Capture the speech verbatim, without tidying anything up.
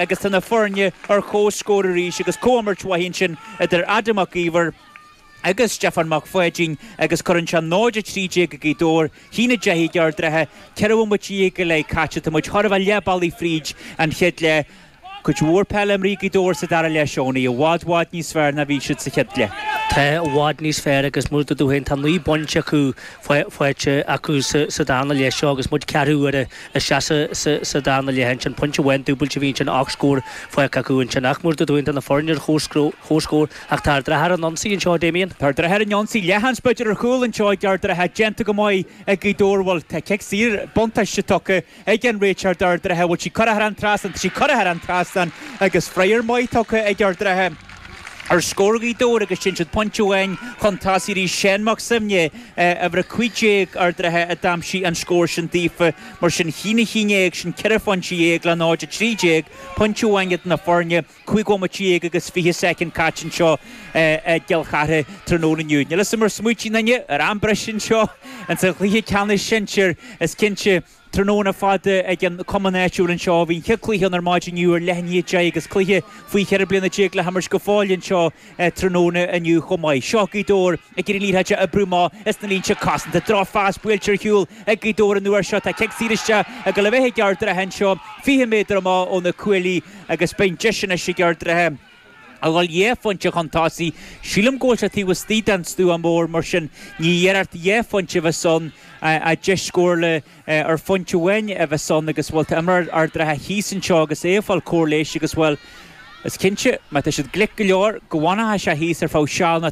agus tá na foirne ar comhscór arís agus comhimirt mhaith ansin idir Adam Mac Íomhair agus Stefan Mac Pháidín agus cuireann sé náid a trí déag ag Gaoth Dobhair, haon a deich ag Ard an Rátha, ceithre bhomaite déag go leith caite, tá muid chóir a bheith leath bealaigh fríd an chéad leath. Cuid mhór peile imrithe ag Gaoth Dobhair sa dara leath Seonaí, i bhfad bhfad níos fearr ná bhí siad sa chéad leath. Tá i bhfad níos fearr agus mar a dúirt tú féin tá naoi bpointe acu faighte acu sa darna leath seo agus muid ceathrú uaire isteach sa darna leath ansin. Pointe amháin dúbailte a bhí ansin ocht scór faighte acu ansin ach mar a dúirt tú féin tá na foirne ar chomhscór ach tá Ard an Rátha ar an ionsaí anseo Damien. Tá Ard an Rátha ar an ionsaí leathsheans b'fhéidir ar chúl anseo ag Ard an Rátha déanta go maith ag Gaoth Dobhair bhuel tá cic saor buntáiste tugtha ag an réiteoir d'Ard an Rátha bhfuil sí curtha thar an trasnán tá sí curtha thar an trasnán agus freagra maith tugtha ag Ard an Rátha ar scór Ghaoth Dobhair agus sin siad pointe amháin chun tosaigh arís Seán Mac Suibhne uimhir a cúig déag Ard an Rátha a d'aimsigh an scór sin daofa mar sin haon a haon déag sin ceithre phointe dhéag le náid a trí déag pointe amháin idir na foirne cúig bhomaite déag agus fiche soicind caite anseo i gCill Chartha tráthnóna inniu. Níl a fhios agam ar smaointigh aon duine ar am breise anseo insa chluiche ceannais sinsir is cinnte tráthnóna fada ag an cumann áitiúil anseo. Bhí an chéad cluiche ann ar maidin inniu ar leath i ndiaidh a deich agus cluiche faoi cheithre bliana déag le himirt go fóill anseo tráthnóna inniu chomh maith. Seo Gaoth Dobhair ag iarraidh an liathróid a oibriú amach as na línte cosanta. Drochphas buailte ar shiúl ag Gaoth Dobhair an uair seo. Tá cic saor isteach ag dul a bheith ag Ard an Rátha anseo fiche méadar amach ó na cuaillí agus beidh deis anois ag Ard an Rátha a dhul dhá phointe chun tosaigh. Sílim go bhfuil sé taobh istigh den stua mór mar sin ní iarracht dhá phointe a bheas ann ach deis scórála ar phointe amháin a bheas ann agus bhuel tá imreoir Ard an Rátha thíos anseo agus é ag fáil cóir leighis agus bhuel is cinnte má tá siad glic go leor go bhfanfaidh sé thíos ar feadh seal nó